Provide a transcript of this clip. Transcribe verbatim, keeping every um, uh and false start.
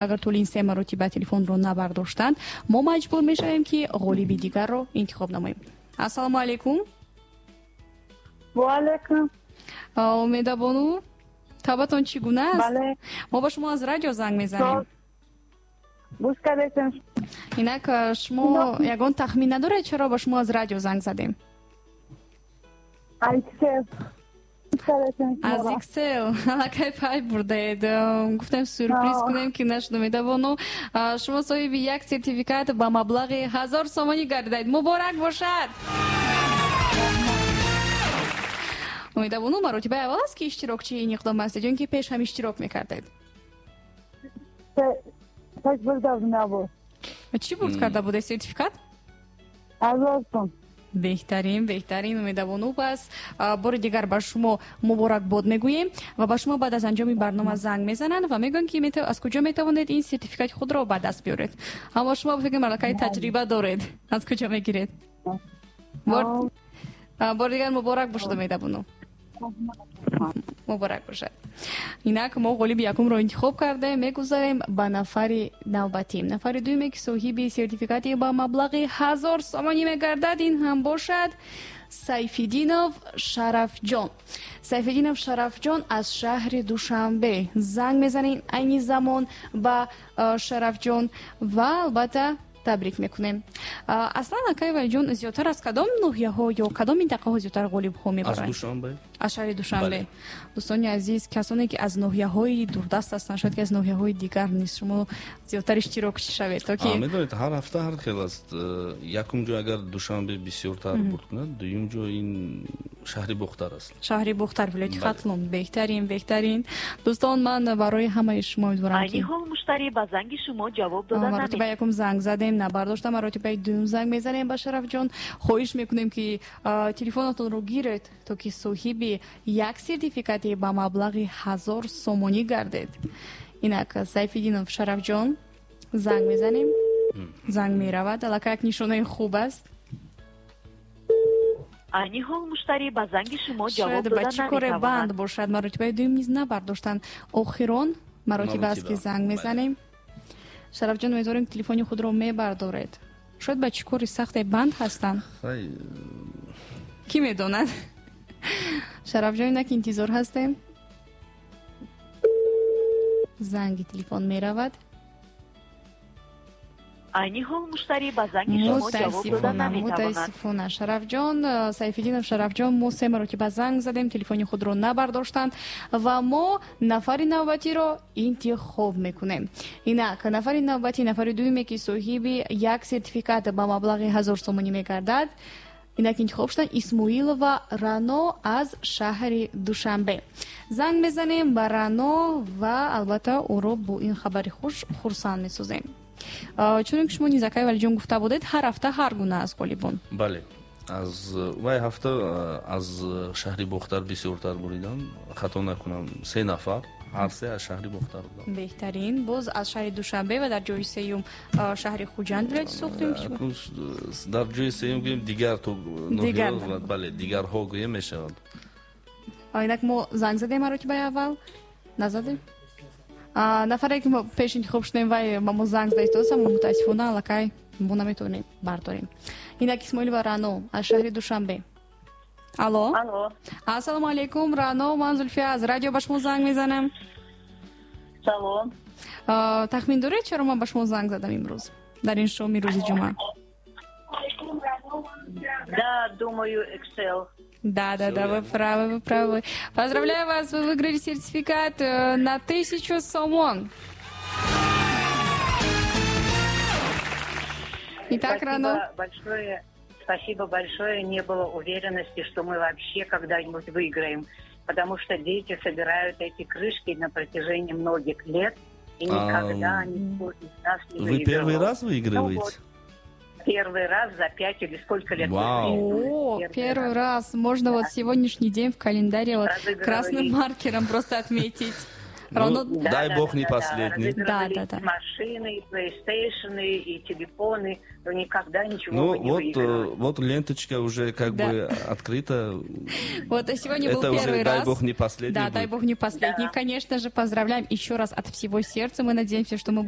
Агар тӯли ин се маротиба телефонро набардоштанд, мо маҷбур мешавем, ки ғолиби дигарро интихоб намоем. Ассалому алайкум. Ва алайкум. Умедабону, табатон чӣ гуна аст? Бале. Мо ба шумо аз радио занг мезанем. Гӯш кардем. Инак, шумо ягон тахмин надоред, чаро ба шумо аз радио занг задем? Айксел. Аз Иксел аллакай пай бурдаед. Гуфтем, сюрприз кунем, ки нашуд. Умедабону, шумо соҳиби як сертификат ба маблағи ҳазор сомонӣ гардидаед. Муборак бошад! Умедабону, маротибаи аввал аст, ки иштирокчии ин иқдом ҳастед ё ин ки пеш ҳам иштирок мекардед? Пеш бурда набуд. Чӣ бурд карда будед? Сертификат? Ҳазор сом. Беҳтарин, беҳтарин, Умедабону. Пас бори дигар ба шумо муборакбод мегӯем ва ба шумо баъд аз анҷоми барнома занг мезананд ва мегӯянд, ки аз куҷо метавонед ин сертификати худро ба даст биёред. Аммо шумо фикр аллакай таҷриба доред, аз куҷо мегиред. Бори дигар муборак бошад, Умедабону. Муборак бошад. Инак, мо ғолиби якумро интихоб кардем, мегузарем ба нафари навбатӣ. Нафари дуюме, ки соҳиби сертификати ба маблағи ҳазор сомонӣ мегардад, ин ҳам бошад Сайфиддинов Шарафҷон. Сайфиддинов Шарафҷон аз шаҳри Душанбе. Занг мезанем айни замон ба Шарафҷон ва албатта табрик мекунем. Аслан, акай Валиҷон, зиёдтар аз кадом ноҳияҳо ё кадом минтақаҳо зиёдтар ғолибҳо мебаранд? Аз Душанбе. Аз шаҳри Душанбе. Дӯстони азиз, касоне ки аз ноҳияҳои дурдаст ҳастанд, шояд ки аз ноҳияҳои дигар низ шумо зиёдтар иштирок шавед, то ки медонед, ҳар ҳафта ҳар хел аст. Якум ҷой агар Душанбе бисёртар бурд кунад, дуюм ҷой ин шаҳри Бохтар аст. Шаҳри Бохтар, вилояти Хатлон. Беҳтарин, беҳтарин. Дӯстон, ман барои ҳамаи шумо умедворам, ки айни ҳол муштарӣ ба занги шумо ҷавоб дода наметавонад. Маротибаи якум занг задем, набардошта, маротибаи дуюм занг мезанем ба Шарафҷон. Хоҳиш мекунем, ки телефонатонро гиред, то ки соҳиби як сертификати ба маблағи ҳазор сомонӣ гардед. Инак, Сайфиддинов Шарафҷон, занг мезанем, занг меравад, аллакай як нишонаи хуб аст. Айни ҳол муштарӣ ба занги шумо ҷавоб Шояд дода ба чӣ коре наметавонад. Банд бошад, маротибаи дуюм низ набардоштанд. Охирон маротиба аст, ки занг мезанем. Шарафҷон, умедворем, ки телефони худро мебардоред. Шояд ба чӣ кори сахте банд ҳастанд, кӣ медонад. Шарафҷон, инак интизор ҳастем. Занги телефон меравад. Айни ҳол муштарӣ ба занги шумо ҷавоб дода Мутаассифона, наметавонад. мутаассифона, Шарафҷон, Сайфиддинов Шарафҷон, мо се маротиба занг задем, телефони худро набардоштанд ва мо нафари навбатиро интихоб мекунем. Инак, нафари навбатӣ, нафари дуюме, ки соҳиби як сертификат ба маблағи ҳазор сомонӣ мегардад, инак интихоб шуданд Исмоилова Рано аз шаҳри Душанбе. Занг мезанем ба Рано ва албатта ӯро бо ин хабари хуш хурсанд месозем. Чунон ки шумо низ, акай Валиҷон, гуфта будед, ҳар ҳафта ҳар гуна аз ғолибон. Бале, аз вай ҳафта аз шаҳри Бохтар бисёртар буридам, хато накунам, се нафар, ҳар се аз шаҳри Бохтар будам. Беҳтарин. Боз аз шаҳри Душанбе ва дар ҷои сеюм шаҳри Хуҷанд, вилояти Суғд. Дар ҷои сеюм гӯем дигар то ноҳияҳо, бале, дигарҳо гӯем мешавад. Инак, мо занг задем маротибаи аввал, назадем. Нафаре, ки мо пеш интихоб шудем, вай ба мо занг зада истодаст, аммо мутаассифона аллакай мо наметавонем бардорем. Инак, Исмоилова Рано аз шаҳри Душанбе. Алло. Алло. Ассалому алайкум, Рано, ман Зулфия аз радио ба шумо занг мезанам. Салом. Тахмин доред, чаро ман ба шумо занг задам имрӯз дар ин шоми рӯзи ҷумъа? Да, думаю, Excel. Да, да, да, вы правы, вы правы. Поздравляю вас, вы выиграли сертификат на тысячу сомон. Итак, Спасибо Рано. Большое, спасибо большое. Не было уверенности, что мы вообще когда-нибудь выиграем, потому что дети собирают эти крышки на протяжении многих лет, и никогда никто из нас не Вы выигрывал. Первый раз выигрываете? Ну вот. Первый раз за пять или сколько лет. Вау. О, первый, первый раз. Можно, да, вот сегодняшний день в календаре вот красным маркером просто отметить. Рано. Ну, дай бог, не последний. Да, да, да. Машины, и PlayStation, и телефоны, но никогда ничего Ну, мы не вот, выигрывали. э, вот ленточка уже как Да. бы открыта. Вот, а сегодня был Это уже, первый дай раз. Бог, не последний Да, дай будет. Бог, не последний. Да. Конечно же, поздравляем еще раз от всего сердца. Мы надеемся, что мы будем